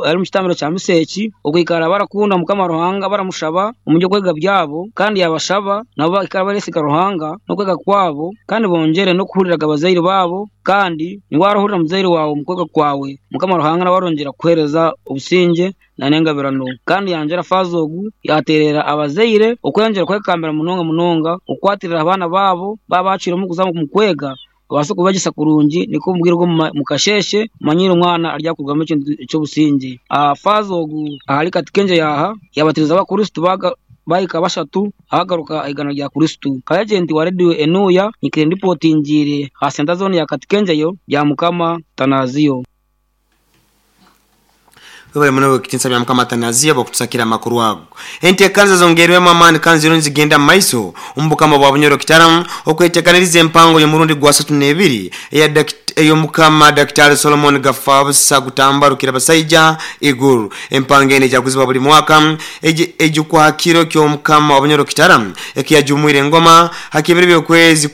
Ari omu kitambiro kya misa eki, okwikara barakunda Mukama Ruhanga baramushaba omu by'okwega byabo kandi yabashaba nabo baikare baresiga Ruhanga n'okwega kwabo kandi bongyere n'okuhurira abazaire baabo kandi ni warahurira muzaire waawe omu kwega kwawe Mukama Ruhanga nawe arongyera kukuhereza obusingye na n'engabirano. Kandi yangyera faaza ogu yaterera abazaire okweyongyera kwekambira munonga munonga okukwatirira abaana baabo baaba bacwiremu kuza omu kwega Obaase kubegyesa kurungi nikwo omu bwire bw'omu kasheeshe omanyire omwana aryakurugamu ekintu eky'obusingye. Faaza ogu ahari Katikengye yaaha yaabatiriza abakristo bahika bashatu abagaruka aha igana rya Kristo. Nka agenti wa rediyo Enuya nyikaire ndipotingiire aha senta zooni ya Katikengyeyo, Byamukama Tanaziyo. Webale muno ow'ekitinisa bya Mukama Atanazia obw'okutusakira amakuru ago. Enteekaniza zongeirwemu amaani kandi ziriyo nizigenda mu maiso omu Bukama bwa Bunyoro Kitara okwetekaniriza empango y'omurundi gwasatu n'ebiri eya ey'Omukama Dakitari Solomon Gafabusa Gutamba Rukirabasaija Iguru. Empango enu ejaguzibwa buli mwaka ejukwa ha kiro ky'Omukama wa Bunyoro Kitara ekiyajumwire engoma ha kibiro by'okwezi.